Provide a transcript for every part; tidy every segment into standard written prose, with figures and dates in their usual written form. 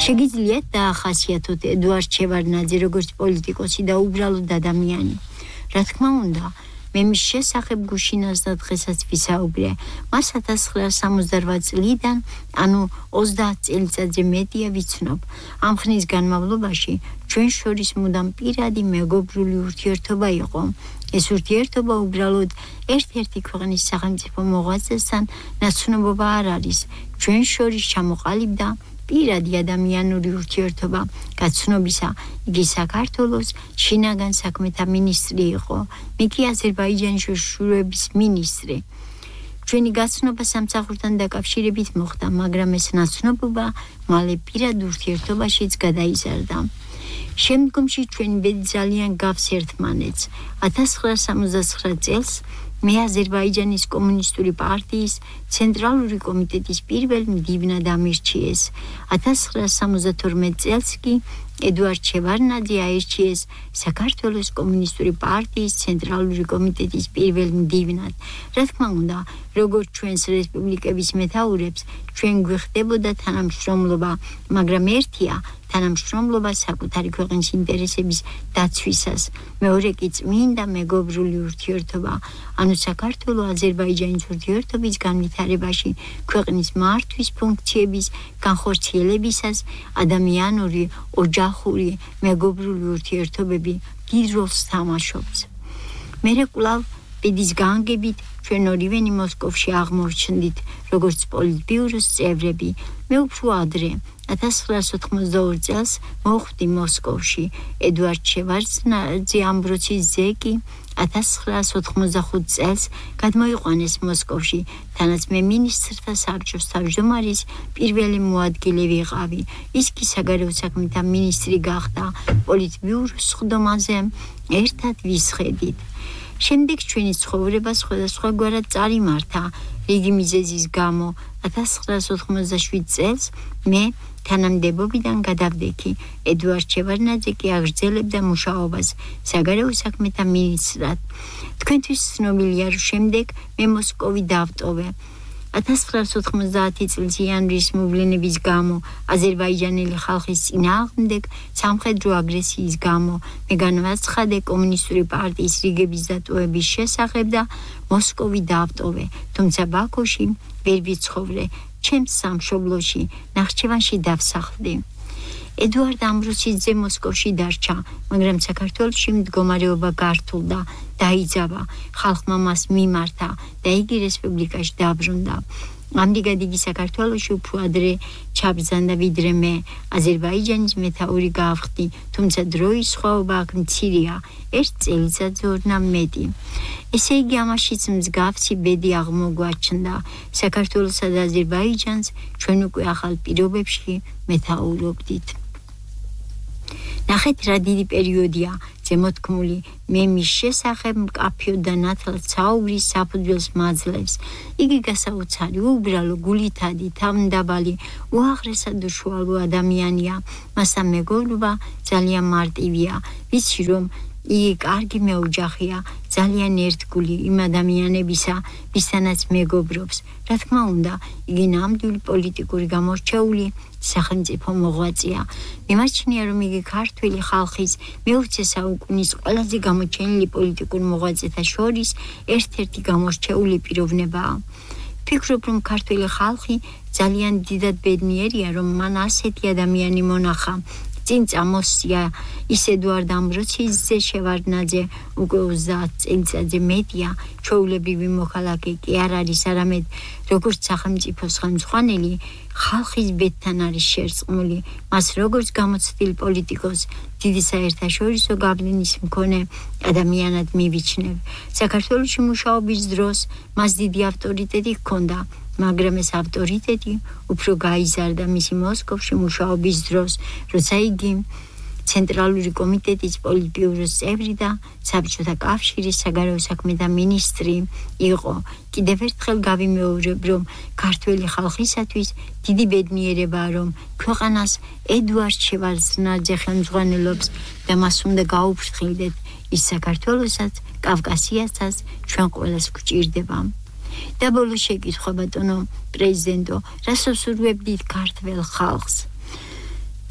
შეგიძლიათ დაახასიათოთ ედუარდ შევარდნაძე როგორც პოლიტიკოსი და უბრალოდ ადამიანი. რა თქმა უნდა, მე მის შესახებ გუშინას და დღესაც ვისაუბრე. მას 1968 წლიდან, ანუ 30 წელიწადზე მეტია ვიცნობ. ამ ხნის განმავლობაში ჩვენ შორის მუდამ პირადი მეგობრული ურთიერთობა იყო. ეს ურთიერთობა უბრალოდ ერთ-ერთი ქვეყნის სახელმწიფო მოღვაწესთან ნაცნობობა არ არის. ჩვენ შორის ჩამოყალიბდა პირადი ადამიანური ურთიერთობა. გაცნობისა, იგი საქართველოს შინაგან საქმეთა მინისტრი იყო. მე კი აზერბაიჯანის შურულების მინისტრი. ჩვენი გაცნობა სამსახურთან დაკავშირებით მოხდა, მაგრამ ეს ნაცნობობა მალე პირად ურთიერთობაშიც გადაიზარდა. შემდგომში ჩვენი ბედი ძალიან გავს ერთმანეთს. 1969 წელს მე აზერბაიჯანის კომუნისტური პარტიის ცენტრალური კომიტეტის პირველ მდივნად ამირჩიეს. 1972 წელს კი ედუარდ შევარდნაძე აირჩიეს საქართველოს კომუნისტური პარტიის ცენტრალური კომიტეტის პირველ მდივნად. რა თქმა უნდა, როგორც ჩვენს რესპუბლიკების მეთაურებს, ჩვენ გვიხდებოდა თანამშრომლობა, მაგრამ ერთია თანამშრომლობა საკუთარი ქვეყნის ინტერესების დაცვისას, მეორე კი წმინდა მეგობრული ურთიერთობა, ანუ საქართველო-აზერბაიჯანის ურთიერთობის განვითარებაში ქვეყნის მართვის ფუნქციების განხორციელებისას ადამიანური, ოჯახური, მეგობრული ურთიერთობები დიდ როლს თამაშობს. მერე კვლავ ბედის განგებით ჩვენ ორივენი მოსკოვში აღმორჩნდით, როგორც პოლიტბიუროს წევრები. მე უფრო ადრე 1982 წელს მოხვდი მოსკოვში. ედუარდ შევარდნაძე ამბროცის ძე კი 1985 წელს გადმოიყვანეს მოსკოვში, თანაც მე მინისტრთა საბჭოს თავმჯდომარის პირველი მოადგილე ვიყავი. ის კი საგარეო საქმეთა მინისტრი გახდა. პოლიტბიუროს სხდომაზე ერთად ვისხედით. შემდეგ ჩვენი ცხოვრება სხვადასხვაგვარად წარიმართა. რიგი მიზეზის გამო 1987 წელს მე თანამდებობიდან გადავდექი. ედუარდ შევარდნაძე კი აგრძელებდა მუშაობას საგარეო საქმეთა მინისტრად. თქვენთვის ცნობილია, რომ შემდეგ მე მოსკოვი დავტოვე. 1990 წლის იანვრის მოვლენების გამო, აზერბაიჯანელი ხალხის წინააღმდეგ სამხედრო აგრესიის გამო მე განვაცხადე კომუნისტური პარტიის რიგების დატოვების შესახებ და მოსკოვი დავტოვე, თუმცა ბაქოში ვერ ვიცხოვრე. ჩემს სამშობლოში, ნახჩევანში დავსახლდი. ედუარდ ამბროსის ძე მოსკოვში დარჩა, მაგრამ საქართველოში მდგომარეობა გართულდა, დაიძაბა, ხალხმა მას მიმართა და იგი რესპუბლიკაში დაბრუნდა. ამდიგად იგი საქართველოში უფრო ადრე ჩაბრძანდა ვიდრე მე. აზერბაიჯანის მეთაური გავხდი, თუმცა დროის სხვაობა აქ მცირეა, ერთ წელიწადზე ორნამ მეტი. ესე იგი ამაშიც მსგავსი ბედი აღმოგვაჩნდა. საქართველოსა და აზერბაიჯანს ჩვენ უკვე ახალ პირობებში მეთაურობდით. ნახეთ რა დიდი პერიოდია ზემოთქმული მე მის შესახებ მკაფიოდ და ნათლად საუბრის საფუძველს მაძლევს. იგი გასაოცარი, უბრალო, გულითადი, თავმდაბალი, უაღრესად უშუალო ადამიანია. მასთან მეგობრობა ძალიან მარტივია. ვიცი რომ იგი კარგი მეოჯახია, ძალიან ერთგული იმ ადამიანებისა, ვისთანაც მეგობრობს. რა თქმა უნდა, იგი ნამდვილი პოლიტიკური გამორჩეული სახელმწიფო მოღვაწეა. მიმაჩნია, რომ იგი ქართველი ხალხის მე-20 საუკუნის ყველაზე გამოჩენილი პოლიტიკურ მოღვაწეთა შორის ერთ-ერთი გამორჩეული პიროვნებაა. ვფიქრობ, რომ ქართველი ხალხი ძალიან დიდად ბედნიერია, რომ მან ასეთი ადამიანი მონახა. წინ წამოსწია ის ედუარდ ამბროცის ძე შევარდნაძე, უკვე 30 წელიწადზე მეტია, ჩვეულებრივი მოქალაქე კი არ არის, არამედ როგორც სახელმწიფოს ხელმძღვანელი ხალხის ბედთან არის შერწყმული. მას როგორც გამოცდილ პოლიტიკოს, დიდი საერთაშორისო გავლენის მქონე ადამიანად მივიჩნევ. საქართველოში მუშაობის დროს მას დიდი ავტორიტეტი ჰქონდა, მაგრამ ეს ავტორიტეტი უფრო გაიზარდა მისი მოსკოვში მუშაობის დროს, როცა იგი ცენტრალური კომიტეტის პოლიტბიუროს წევრი და საბჭოთა კავშირის საგარეო საქმეთა მინისტრი იყო. კიდევ ერთხელ გავიმეორებ, რომ ქართველი ხალხისათვის დიდი ბედნიერებაა, რომ ქვეყანას ედუარდ შევარდნაძე ხელმძღვანელობს და მას უნდა გაუფრთხილდეთ ის საქართველოსაც, კავკასიასაც ჩვენ ყველას გვჭირდება. და ბოლო შეკითხვა, ბატონო პრეზიდენტო, რას უსურვებდით ქართველ ხალხს?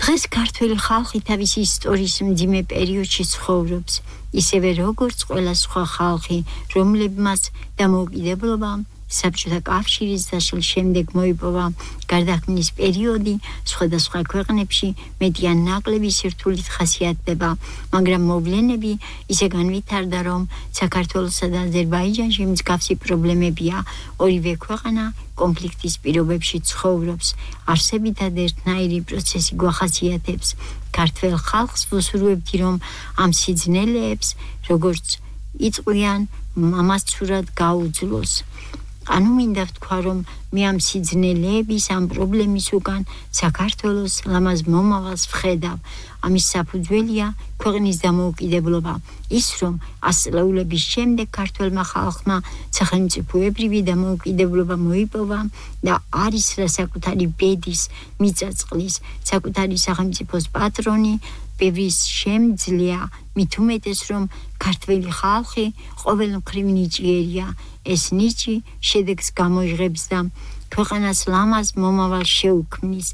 დღეს ქართველი ხალხი თავის ისტორიის მძიმე პერიოდში ცხოვრობს, ისევე როგორც ყველა სხვა ხალხი, რომლებმაც დამოუკიდებლობა საბჭოთა კავშირის დაშლის შემდეგ მოიპოვა გარდაქმნის პერიოდი, სხვადასხვა ქვეყნებში მეტი ან ნაკლები სირთულით ხასიათდება, მაგრამ მოვლენები ისე განვითარდა, რომ საქართველოსა და აზერბაიჯანში მსგავსი პრობლემებია. ორივე ქვეყანა კონფლიქტის პირობებში ცხოვრობს. არსებითად ერთნაირი პროცესი გვახასიათებს. ქართველ ხალხს ვუსურვებთ, რომ ამ სიძნელეებს, როგორც იწყვიან, ამასწურად გაუძლოს. ანუ მინდა ვთქვა, რომ მე ამ სიძნელეების, ამ პრობლემის უკან საქართველოს ლამაზ მომავალს ვხედავ. ამის საფუძველია ქვეყნის დამოუკიდებლობა. ის, რომ 100 წლეულების შემდეგ ქართველმა ხალხმა სახელმწიფოებრივი დამოუკიდებლობა მოიპოვა და არის რა საკუთარი ბედის, მიწა-წყლის, საკუთარი სახელმწიფოს პატრონი, ბევრის შემძლეა, მით უმეტეს, რომ ქართველი ხალხი ყოველმხრივ ნიჭიერია. ეს ნიჭი შედეგს გამოიღებს და ქვეყანას ლამაზ მომავალს შეუქმნის.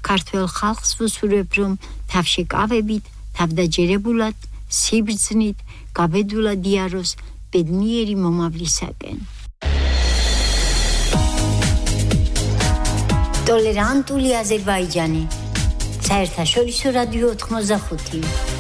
ქართველ ხალხს ვუსურვებ, რომ თავშეკავებით, თავდაჯერებულად, სიბრძნით, გაბედულად იაროს ბედნიერი მომავლისაკენ. ტოლერანტული აზერბაიჯანი. საერთაშორისო რადიო 85